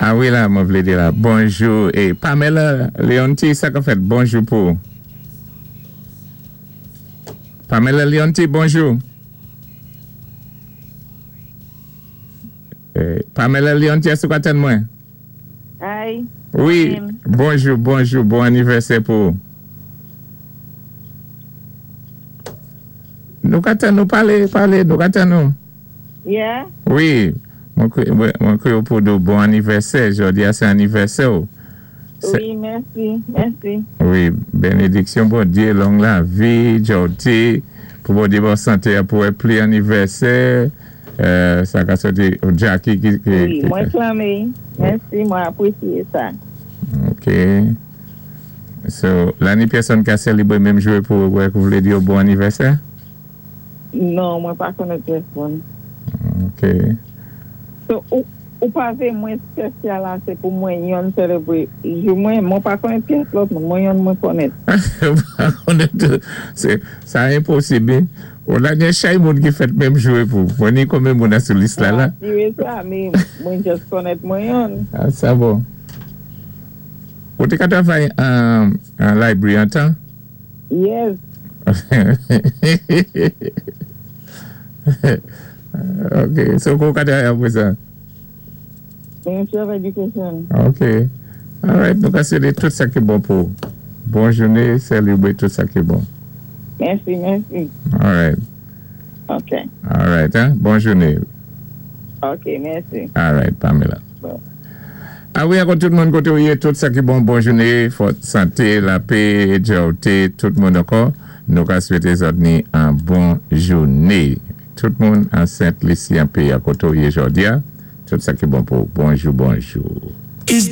A wi la, mwen vlé di la. Bonjou. É Pamela Leonti, sa ka fèt? Bonjou pou ou. Pamela Leonti, bonjou. Pamela Leonti, èske ou ka tann mwen? Hi. Wi, bonjou, bonjou, bon anivèsè pou ou. Nou ka tann nou palé, palé, nou ka tann nou. Yeah? Wi, mwen kwé ou pou di ou bon anivèsè, jòdi a sé anivèsè ou. Wi, mèsi, mèsi. Wi, benediksyon Bondyé, long lavi, jòti, pou Bondyé ba ou santé a pou wè pli anivèsè, sa ka sòti Jackie ki. Wi, mwen klame, mèsi, mwen apwésyé sa. Ok. So, la ni pèsòn ka sèlébwé menm jou pou wè kou vlé di yo bon anivèsè? Non, mwen pa konnèt pèsonn. Ok. So, ou pa vé mwen spésyal asé pou mwen yonn sèlébwé jou mwen, mwen pa konnèt pyès lòt moun, mwen yonn mwen konnèt. Ou pa konnèt tou. Sa enposib. Ou la gen chay moun ki fèt menm jou é pou. Mwen ni konbyen moun a sou lis la la. Mwen asiré sa, mé mwen just konnèt mwen yonn. Ah, sa bon. Ou té ka travay an library antan? Yes. Ok, so kou ka travay apwé sa? Ministry of Education. Ok. Alright, nou ka swété tout sa ki bon pou ou. Bon jouné, sèlébwé tout sa ki bon. Mèsi, mèsi. Alright. Ok. Alright, hein? Bon jouné. Ok, mèsi. Alright, Pamela. Bon. A wi, ankò tout moun koté ou yé, tout sa ki bon, bon jouné, fòt santé, lapé, djòwté, tout moun ankò, nou ka swété zòt ni an bon jouné. Tout moun an Sent Lisi an péyi a koté ou yé jòdi a, tout sa ki bon pou ou. Bonjou, bonjou.